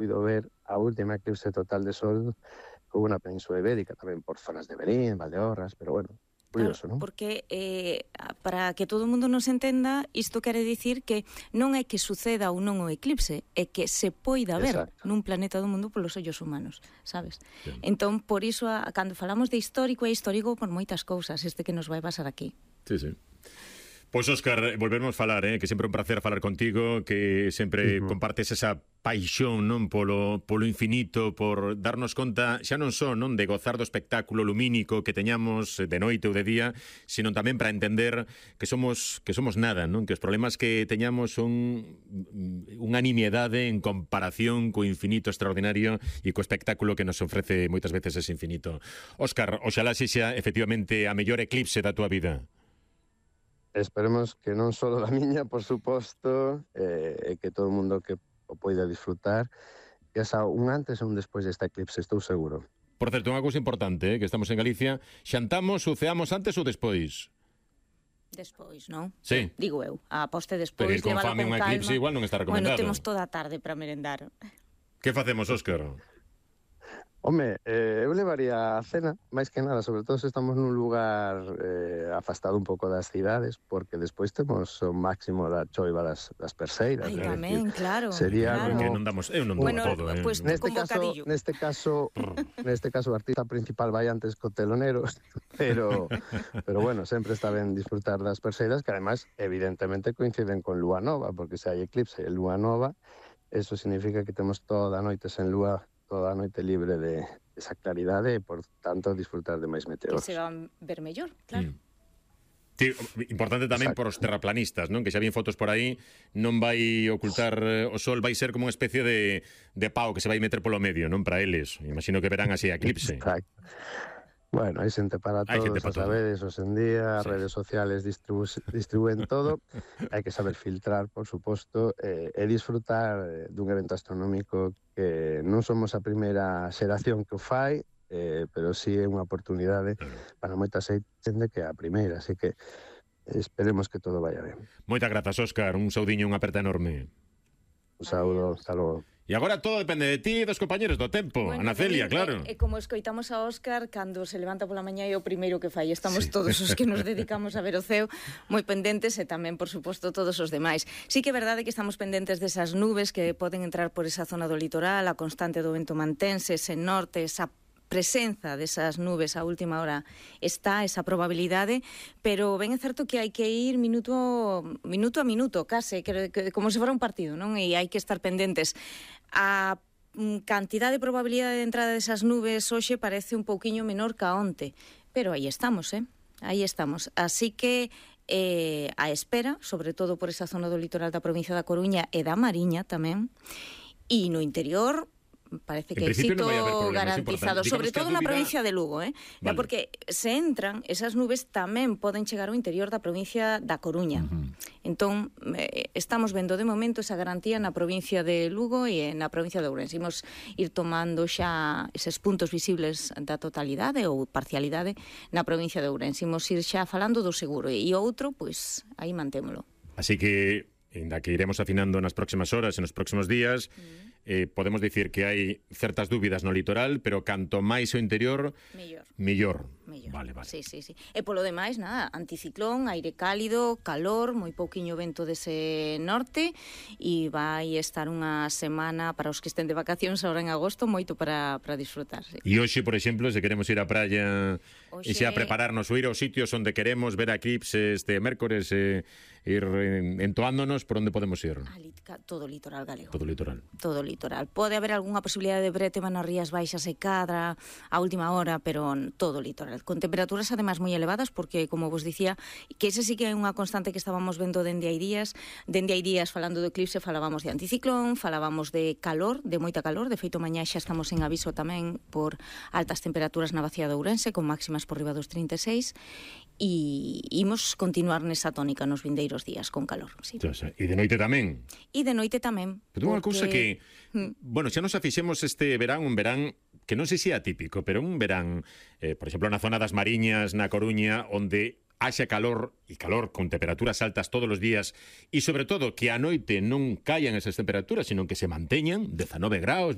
puido ver a última eclipse total de sol hubo na Península Ibérica, tamén por zonas de Berín, Valdeorras, pero bueno, curioso, Claro, non? porque para que todo o mundo nos entenda, isto quere dicir que non é que suceda ou non o eclipse, é que se poida ver nun planeta do mundo polos ollos humanos, sabes? Sí. Entón, por iso, cando falamos de histórico, é histórico por moitas cousas, este que nos vai pasar aquí. Sí, sí. Pois, Óscar, volvermos falar, que sempre é un placer falar contigo, que sempre compartes esa paixón, non, polo infinito, por darnos conta xa non só, non, de gozar do espectáculo lumínico que teñamos de noite ou de día, sino tamén para entender que somos nada, non, que os problemas que teñamos son unha nimiedade en comparación co infinito extraordinario e co espectáculo que nos ofrece moitas veces ese infinito. Óscar, oxalá sexa efectivamente a mellor eclipse da túa vida. Esperemos que non só da miña, por suposto, e que todo o mundo que o poida disfrutar, que xa un antes e un despois desta eclipse, estou seguro. Por certo, unha cousa importante, que estamos en Galicia, xantamos ou ceamos antes ou despois? Despois, non? Sí. Digo eu, a poste despois, pero ir con levala fame con unha eclipse igual non está recomendado. Bueno, temos toda a tarde para merendar. Que facemos, Óscar? Home, eu levaría a cena, máis que nada, sobre todo se estamos nun lugar afastado un pouco das cidades, porque despois temos o máximo da choiva das perseiras. Ai, tamén, decir, claro. Sería claro. como... Que non damos, eu non bueno, todo, pues, neste caso, o artista principal vai antes co telonero, pero bueno, sempre está ben disfrutar das perseiras, que además, evidentemente, coinciden con lúa nova, porque se hai eclipse e lúa nova, eso significa que temos toda a noite sen lúa, toda a noite libre de esa claridade e, por tanto, disfrutar de máis meteoros. Que se van ver mellor, claro. Sí, importante tamén por os terraplanistas, non? Que xa vi fotos por aí, non vai ocultar o sol, vai ser como unha especie de pau que se vai meter polo medio, non? Para eles. Imagino que verán así a eclipse. Exacto. Bueno, hai xente para todos, a sabedes, hoxe en día, as redes sociales distribuen todo, hai que saber filtrar, por suposto, e disfrutar dun evento astronómico que non somos a primeira xeración que o fai, pero sí é unha oportunidade para moita xente que é a primeira, así que esperemos que todo vaya ben. Moitas grazas, Óscar, un saudiño, unha aperta enorme. Un saúdo, hasta logo. E agora todo depende de ti e dos compañeros do tempo. Bueno, Ana Celia, claro. E como escoitamos a Óscar, cando se levanta pola mañá é o primeiro que fai. Estamos todos os que nos dedicamos a ver o ceo moi pendentes e tamén, por suposto, todos os demais. Sí que é verdade que estamos pendentes desas nubes que poden entrar por esa zona do litoral, a constante do vento mantense, ese norte, esa presenza desas nubes a última hora está esa probabilidade, pero ben é certo que hai que ir minuto a minuto, case, como se fora un partido, non? E hai que estar pendentes. A cantidad de probabilidade de entrada desas nubes hoxe parece un pouquiño menor ca onte, pero aí estamos, aí estamos. Así que a espera, sobre todo por esa zona do litoral da provincia da Coruña e da Mariña tamén, e no interior parece que éxito no garantizado, sobre todo na provincia de Lugo, vale. Porque se entran, esas nubes tamén poden chegar ao interior da provincia da Coruña. Entón, estamos vendo de momento esa garantía na provincia de Lugo e na provincia de Ourense. Imos ir tomando xa eses puntos visibles da totalidade ou parcialidade na provincia de Ourense. Imos ir xa falando do seguro e outro, pois, aí mantémolo. Así que, ainda que iremos afinando nas próximas horas e nos próximos días, podemos dicir que hai certas dúbidas no litoral, pero canto máis o interior, mellor. Vale. Sí. E polo demais, nada, anticiclón, aire cálido, calor, moi pouquiño vento dese norte, e vai estar unha semana para os que estén de vacacións agora en agosto, moito para disfrutar. Sí. E hoxe, por exemplo, se queremos ir á praia e xa prepararnos ou ir aos sitios onde queremos ver a eclipse este mércores e ir entoándonos, por onde podemos ir? Todo o litoral galego. Todo o litoral. Pode haber algunha posibilidade de brétema nas rías baixas e Cadra a última hora, pero todo o litoral. Con temperaturas además moi elevadas, porque, como vos dicía, que ese sí que é unha constante que estábamos vendo dende hai días. Dende hai días, falando do eclipse, falábamos de anticiclón, falábamos de calor, de moita calor. De feito, mañá xa estamos en aviso tamén por altas temperaturas na bacía de Ourense, con máximas por riba dos 36, e imos continuar nesa tónica nos vindeiros días con calor. Sí. E de noite tamén? E de noite tamén. Pero unha cousa que, bueno, xa nos afixemos este verán, un verán que non sei se é atípico, pero un verán, por exemplo, na zona das Mariñas, na Coruña, onde haxa calor, e calor con temperaturas altas todos os días, e sobre todo que a noite non caian esas temperaturas, sino que se manteñan 19 graus,